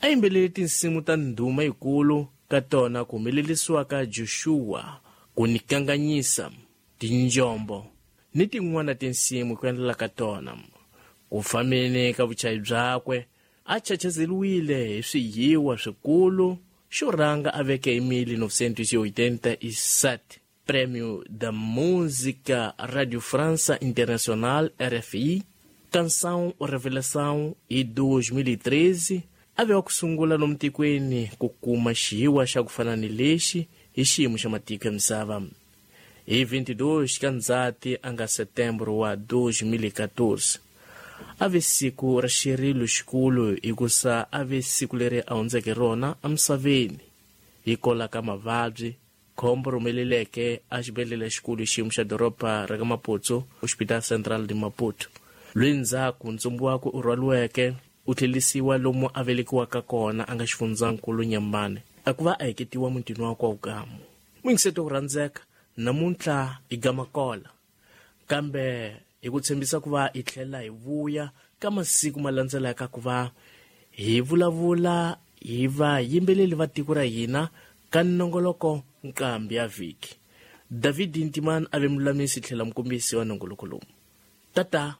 A yimbelele tinsimu ta ndhuma yikulu ka tona ku humelerisiwa ka Joshua, ku ni kanganyisa, tinjombo ni tin'wana tinsimu ku endlela ka tona. Ku fambeni ka vuchayi byakwe a chachazeliwile hi swiyiwa swikulu xo rhanga a veke hi 1987 Prêmio da Música Radio França Internacional RFI, Canção Revelação hi 2013 a ve wa ku sungula lomu tikweni ku kuma xiyiwa xa ku fana ni lexi hi xiyimo xa matiko ya misava. Hi 22 ka Ndzati a nga Setembro wa 2014 a ve siku ra xirilo xikulu hikusa a ve siku leri a hundzeke rona emisaveni hikola ka mavabyi khombo ri humeleleke a xibedhlele xikulu xiyimo xa doroba ra ka Maputo, Hospital Central de Maputo. Lweyi ndzhaku ntsumbu wakwe u rhwaliweke u tlhelisiwa lomu a velekiwaka kona a nga xifundzankulu Nyambane a ku va a heketiwa mutini wakwe wa vukamu. Muyingiseto ku rhandzeka namuntlha hi gamakola kambe hi ku tshembisa ku va hi tlhela hi vuya ka masiku ma landzelaka ku va hi vulavula hi vayimbeleri va tiko ra hina ka nongoloko nqambi ya vhiki. David Ntimani a ve mululamisi tlhela mukombisi wa nongoloko lowu. Tata.